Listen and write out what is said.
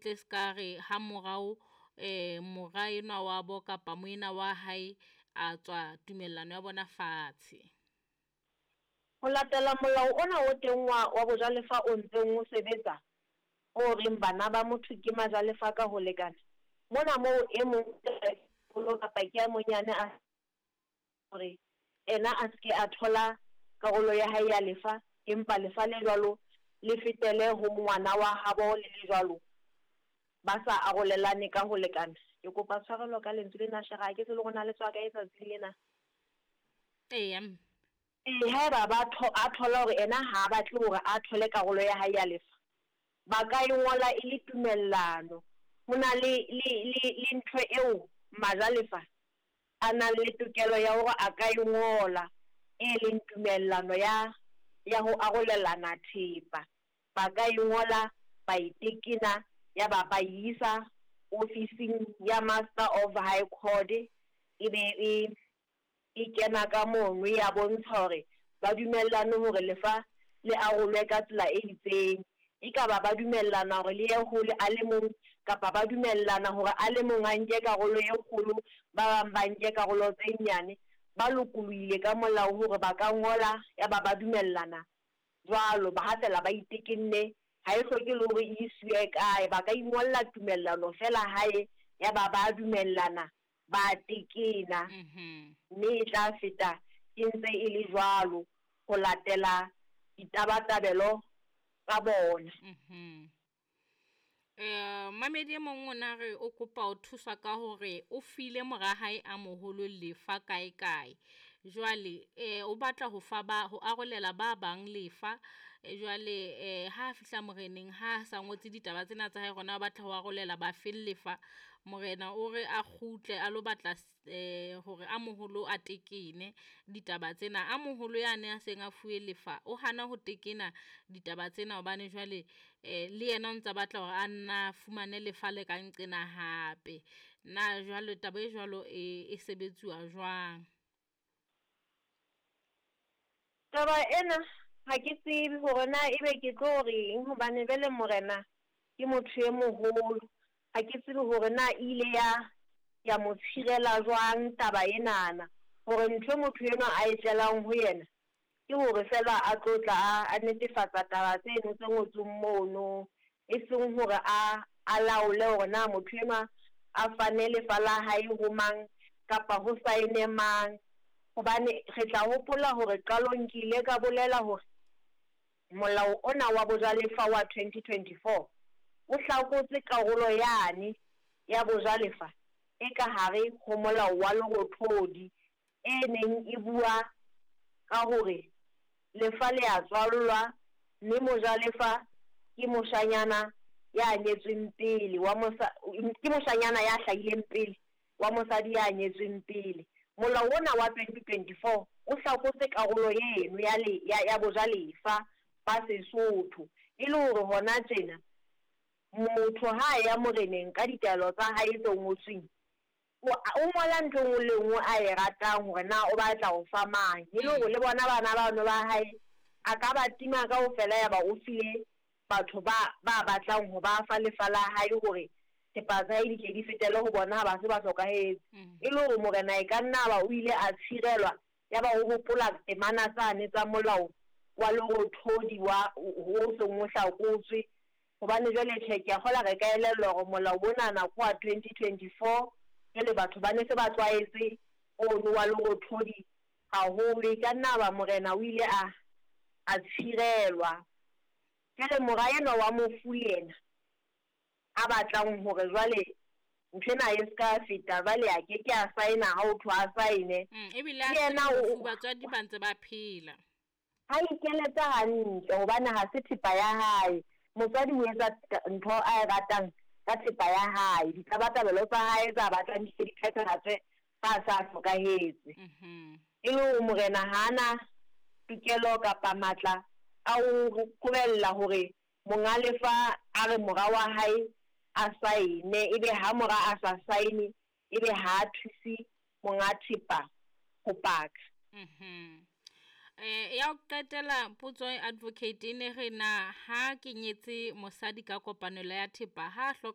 tle se ka re ha morao mora enwa wa bo kapa moena wa hae a tswa tumellano ya bona fatshe. Ho latela molao ona o teng wa bojalefa o ntseng o sebetsa, o reng bana ba motho ke majalefa ka ho lekana, mona moo e mong moholo kapa ke a monyane a hore ena a se ke a thola karolo ya hae ya lefa, empa lefa le jwalo le fetele ho ngwana wa habo le le jwalo, ba sa arolelane ka ho lekana. Ke kopa tshwarelo ka lentswe lena, Shera, ha ke tsebe le hore na le tswa kae tsatsing lena. Eya. Ee, haeba ba a thola hore ena ha a batle hore a thole karolo ya hae ya lefa, ba ka e ngola e le tumellano. Ho na le ntho eo majalefa a nang le tokelo ya hore a ka e ngola, e leng tumellano ya ho arolelana thepa. Ba ka e ngola, ba e tekena, ya ba ba e isa ofising ya Master of High Court, e be e kena ka mono ya bontsha hore ba dumellane hore lefa le arolwe ka tsela e itseng. E ka ba ba dumellana hore le ye hole a le mong, kapa ba dumellana hore a le mong a nke karolo e kgolo, ba bang ba nke karolo tse nyane. Ba lokolohile ka molao hore ba ka ngola ya ba ba dumellana jwalo, ba ha fela ba itekenne, ha e hloke le hore e isiwe kae, ba ka ingolla tumellano fela hae ya ba ba dumellana, ba tekena, mme e tla feta e ntse e le jwalo ho latela ditabatabelo tsa bona. Mamedi e mong o na re o kopa ho thuswa ka hore o file mora hae a moholo lefa kae kae. Jwale o batla ho fa ba ho arolela ba bang lefa, jwale ha fihla moreneng ha sa ngotse ditaba tsena tsa hae hore na o batla ho arolela ba feng lefa, morena o re a kgutle a lo batla hore a moholo a tekene ditaba tsena. A moholo yane a seng a fuwe lefa o hana ho tekena ditaba tsena hobane jwale le yena o ntsa batla hore a nna fumane lefa le ka nqena hape. Na jwale taba e jwalo e sebetsuwa jwang? Taba ena ha ke tsebe hore na ebe ke tlo reng, hobane jwale morena ke motho e moholo. Ha ke tsebe hore na e ile ya mo tshirela jwang taba enana, hore ntho motho enwa a e tlelang ho yena ke hore fela a tlo tla a netefatsa taba tseno tse ngotsweng mono, e seng hore a laole hore na motho enwa a fane lefa la hae ho mang kapa ho saene mang. Hobane re tla hopola hore qalong ke ile ka bolela hore molao ona wa bojalefa wa 2024 o hlakotse karolo yane ya bojalefa e ka hare ho molao wa Lerothodi e neng e bua ka hore lefa le a tswallwa mme mojalefa ke moshanyana ya nyetsweng pele wa ke moshanyana ya hlahileng pele wa mosadi ya nyetsweng pele. Molao ona wa 2024 o hlakotse karolo eno ya bojalefa ba Sesotho, e le hore hona tjena motho ha ya moreneng ka ditaelo tsa hae tse ngotsweng, o ngola ntho e nngwe le nngwe a e ratang hore na o batla ho fa mang, e le hore le bona bana bano ba hae a ka ba tima kaofela ya ba o file batho ba batlang ho ba fa lefa la hae hore thepa tsa hae di tle di fetele ho bona ha ba se ba hlokahetse. E le hore morena e ka nna ba o ile a tshirelwa ya ba o hopola temana tsane tsa molao wa Lerothodi wa o seng o hlakotswe. Hobane jwale tjhe, ke a kgola re ka elellwa hore molao onana ke wa 2024, jwale batho ba ne se ba tlwaetse ono wa Lerothodi haholo. E ka nna ba morena o ile a tshirelwa. Jwale mora enwa wa mofu yena a batlang hore jwale nthwena e ska feta, jwale a ke ke a saena ha ho thwe a saene. Ebile a se mofu, batswadi ba ntse ba phela. Ha ikeletse hantle hobane ha se thepa ya hae. Motswadi o etsa ntho a e ratang ka thepa ya hae, ditabatabelo tsa hae tsa batlang di se di phethahatswe ha sa hlokahetse. E le hore morena ha ana tokelo kapa matla a ho qobella hore monga lefa a re mora wa hae a saene, ebe ha mora a sa saene ebe ha thuse monga thepa ho paka. Ya ho qetela potso advocate e ne re na ha ke nyetse mosadi ka kopanelo ya thepa ha